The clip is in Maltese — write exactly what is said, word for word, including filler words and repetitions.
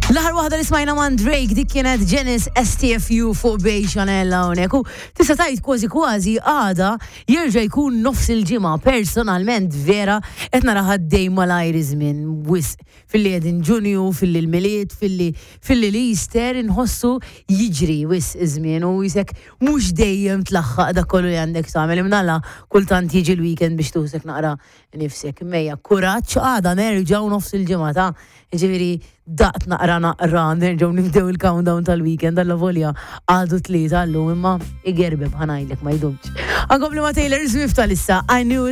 L-aħħar waħda li smajna man Drake, dik kienet Janice, S T F U fuq Bay Chanel hawnhekk. U tista' tgħid kważi kważi għada jerġa' jkun nofs il-ġimgħa. Personalment vera qed nara ħaddej malajr iż-żmien wisq, filli qegħdin Ġunju, filli l-Milied, filli filli l-Easter, inħossu jiġri wisq iż-żmien u jisek mhux dejjem tlaħħaq dak kollu li għandek tagħmel. Imnalla kultant jiġi l-weekend biex tuħsek naqra nifsek. Mejja, kuraġġ, għada nerġgħu nofs il-ġimgħa ta', ġifieri daqt naqra naqra nerġgħu nibdew il-countdown tal-weekend, alla volja għadu tlieta llum, imma igerbeb, ħa ngħidlek, ma jdumx. Għankompli ma' Taylor Swift tal-issa, I Knew.